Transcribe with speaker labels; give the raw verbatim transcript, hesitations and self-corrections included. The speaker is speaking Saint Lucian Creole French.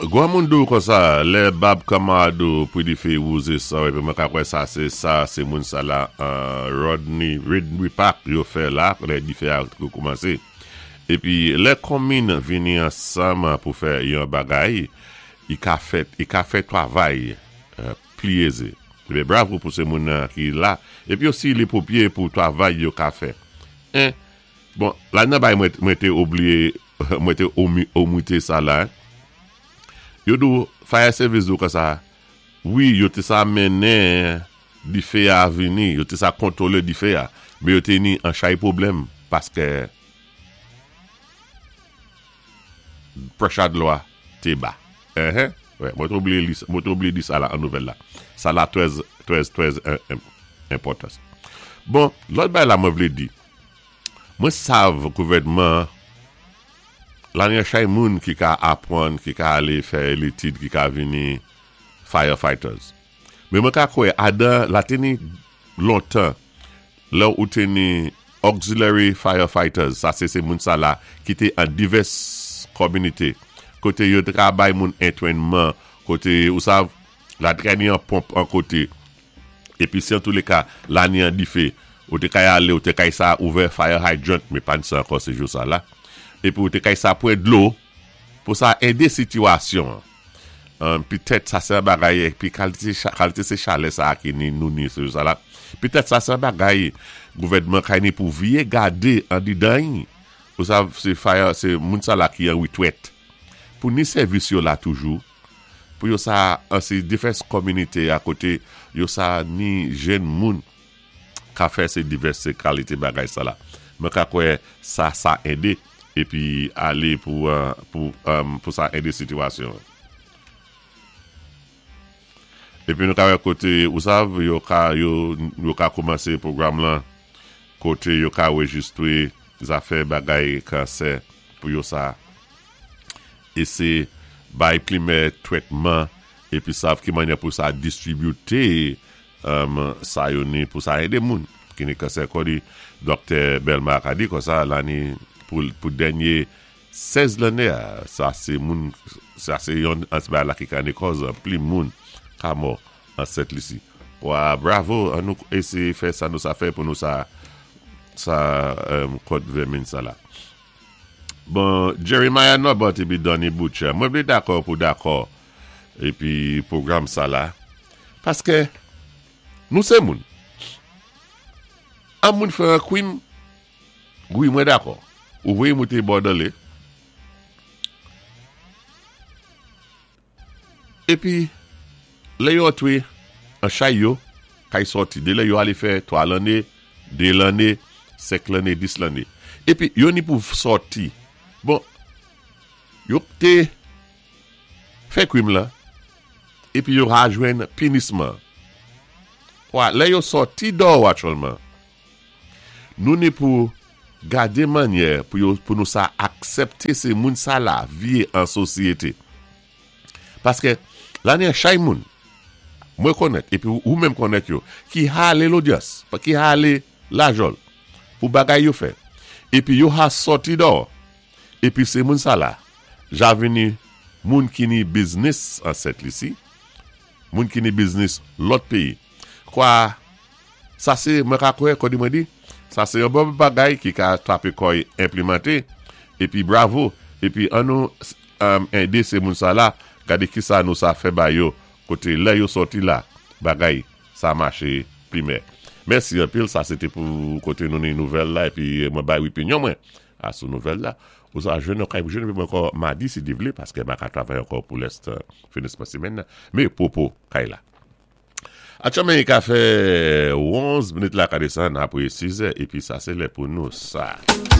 Speaker 1: Gwan moun dou kon sa, lè bab kamadou pou di fe wouze sa, epi mwen ka kwè sa se sa, se moun sa la, Rodney, Rodney Park yo fè la, lè di fe a kou koumanse. Epi lè komin vini ansam pou fè yon bagay, i ka fè, i ka fè travay pli eze. Ebe bravo pou se moun ki la, epi osi li popye pou travay yo ka fè. En, bon, la nan bay mwen te oubliye, mwen te omite sa la, yo dou fire service dou ka sa, wi, yo te sa menen di fe a vini, yo te sa kontrole di fe a, me yo te ni an chay pwoblèm, paske pressure dlo a te ba. Eh, ouais, mwen te oubliye li, mwen te oubliye di sa la an nouvèl la. Sa la trèz, trèz, trèz enpòtans. Bon, lòt bay la mwen vle di, mwen sav gouvèdman la ni chay moun ki ka apwann, ki ka ale fè létid, ki ka vini firefighters. Men mwen ka kwè, adan la teni lontan, lè ou teni auxiliary firefighters, sa se se moun sa la, ki te an divès kominité, kote yo te ka bay moun entwènman, kote ou sav, la te ni an ponp an kote, epi si an tou le ka, la ni an difé, ou te kay ale, ou te kay sa ouvè fire hydrant, me pan sa ankò se jou sa la, epi ou te kay sa pwen dlo, pou sa ede sitiyasyon. Um, Petèt sa se bagay, epi kalite, kalite se chalè sa ki ni nou ni se jou sa la, petèt sa se bagay, gouvèdman kay ni pou viye gade an di dan, ou sa se fire, se moun sa la ki an witwet, pou ni servis yo la toujou, pou yo sa, an se divès kominité a kote, yo sa ni jen moun ka fè se divès kalite bagay sa la. Mwen ka kwè sa sa ede, epi ale pou, pou, um, pou sa ede sitiyasyon. Epi nou ka wè kote, ou sav, yo ka, yo, yo ka koumanse pwogram lan, kote yo ka rejistre zafè bagay kansè pou yo sa ese bay plimè tretman, epi sav ki manyè pou sa distribute um, sa yo ni pou sa ede moun ki ni kansè. Kodi Doktè Belmar a di kon sa la ni pou, pou dènyé sèz lanné a, sa se moun, sa se yon ansba la ki ka ni koz pli moun ka mò an Sent Lisi. Wa bravo, an nou ese fè sa nou sa fè pou nou sa sa um, kont vèmin sa la. Bon, Jeremiah Norbert epi Donny Butcher, mwen vle dakò pou dakò epi pwogram sa la, paske nou se moun. An moun fè an kwim, wi mwen dakò. Ou voye moute bòdale. Epi, lè yo antre, an chay yo, kay sòti. De lè yo ale fè twa lanné, dé lanné, senk lanné, dis lanné. Epi, yo ni pou sòti. Bon, yo te fè kwim la, epi yo ra jwenn pinisman. Kwa, lè yo sòti dò aktyèlman, nou ni pou gade manyè pou yo, pou nou sa aksepte se moun sa la vie an sosyete. Paske, la ni chay moun, mwen konèt, epi ou menm konèt yo, ki hale lodyans, pa ki hale lajòl, pou bagay yo fè. Epi yo ha sòti dò, epi se moun sa la, ja vini moun ki ni biznis an Sent Lisi, moun ki ni biznis lòt peyi. Kwa, sa se, mwen ka kwè, kodi mwen di, sa se yon bon bagay ki ka trape koy implemante, epi bravo, epi an nou um, ede se moun sa la, gade ki sa nou sa fè ba yo, kote lè yo sòti la, bagay sa mache primè. Mèsi anpil, sa se te pou kote nou ni nouvèl la, epi mwen bay opinyon mwen a sou nouvèl la. Ou sa jwenn nou kay jwenn mwen ankò madi si Dye vle, paske mwen ka travay ankò pou lès finisman semèn nan. Me pwopo kay la. Aktyèlman i ka fè onz minit la ka desann apre sis è, epi sa se lè pou nou sa.